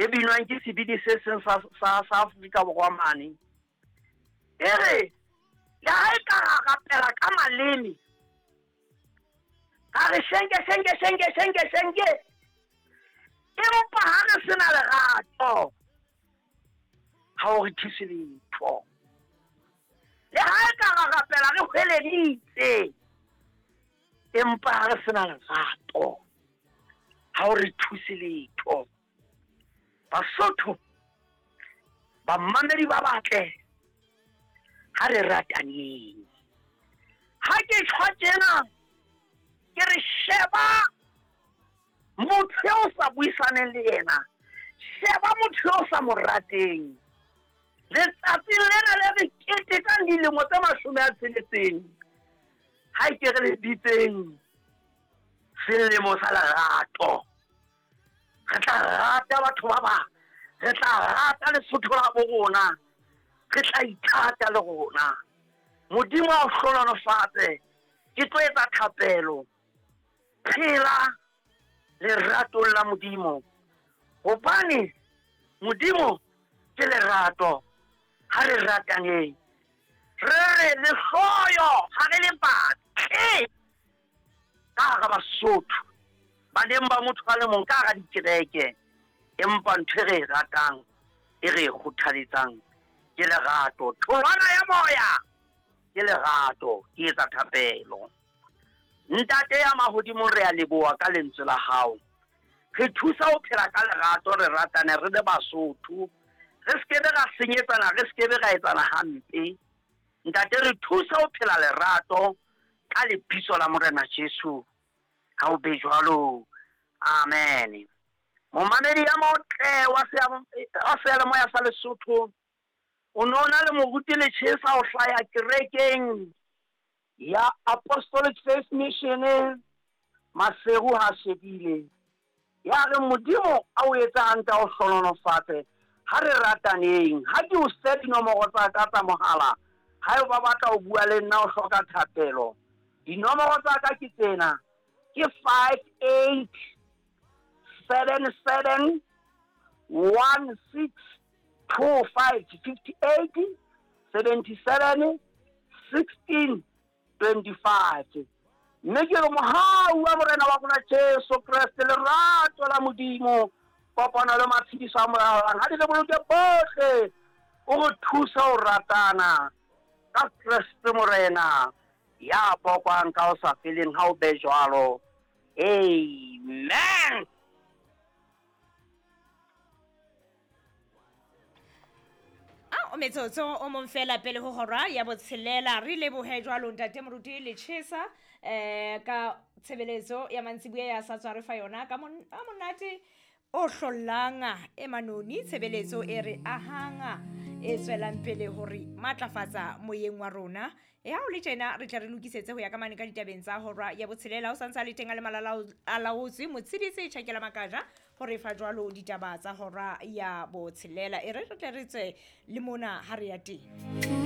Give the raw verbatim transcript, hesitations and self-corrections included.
E binwang ke sebini se seng sa sa sa Afrika Borwa mane. E re le ha e ka ra rapela ka maleme, ka re shenke shenke shenke shenke shenke, empa ha re sena lerato, ha o re thuse letho. Le ha e ka ra rapela re hweleditse, empa ha re sena lerato, ha o re thuse letho. Basotho, bamamedi ba batle, ha re rataneng. Ha ke tjho tjena, ke re sheba motho eo sa buisaneng le yena, sheba motho eo sa mo rateng. Letsatsing lena le re ketekang dilemo tse mashome a tsheletseng, ha ke re le bitseng selemo sa lerato. Re tla rata batho ba bang, re tla rata Lesotho la bo rona, re tla ithata le rona. Modimo a o hlohonolofatse. Ke tlo etsa thapelo. Phela leratong la Modimo, hobane Modimo ke lerato. Ha re rataneng, re re lehloyo ha re le batle ka hara Basotho, baneng ba motho a le mong ka hara dikereke, empa ntho e re e ratang, e re e kgothaletsang ke lerato. Tholwana ya moya ke lerato. Ke etsa thapelo. Ntate ya mahodimong, re a leboha ka lentswe la hao. Re thusa ho phela ka lerato, re ratane re le Basotho, re se ke ra senyetsana, re se ke ra etsana hampe. Ntate, re thusa ho phela lerato ka lebitso la Morena Jesu. Ha o be jwalo. Amen. Momamedi ya motle wa seyalemoya sa Lesotho, o no na le moruti Lechesa o hlaya kerekeng ya Apostolic Faith Mission Maseru ha shebile. Ya re Modimo a o etse hantle, a o hlohonolofatse. Ha re rataneng. Ha ke o se dinomoro tsa ka tsa mohala, ha eba ba batla ho bua le nna o hloka thapelo, dinomoro tsa ka ke tsena, ke five eight seven seven one six two five, fifty eight seventy seven sixteen twenty five. Mme ke re mohau wa Morena wa rona Jesu Kreste, lerato la Modimo, kopano le matshediso a Moya, ha di le boloke bohle, o re thusa ho ratana ka Kreste Morena ya bokwang ka ho sa feleng. Ha o be jwalo. Amen. A o metsotso o mong fela pele ho hora ya botshelela. Re lebohe jwalo ntate Moruti Lechesa eh ka tshebeletso ya mantsibuya ya sa tswa re fa yona ka monate o hlollang e manoni, tshebeletso e re ahanga e tswelang pele hore matlafatsa moyeng wa rona. E ha o le tjena re tla re lokisetse ho ya ka mane ka ditabeng tsa hora ya botshelela. O santsa le teng a le malala a laotswe motshedisi Tjhakela Makaja hore fa jwalo ditaba tsa hora ya botshelela. E re re tle re tswe le mona ha re ya teng.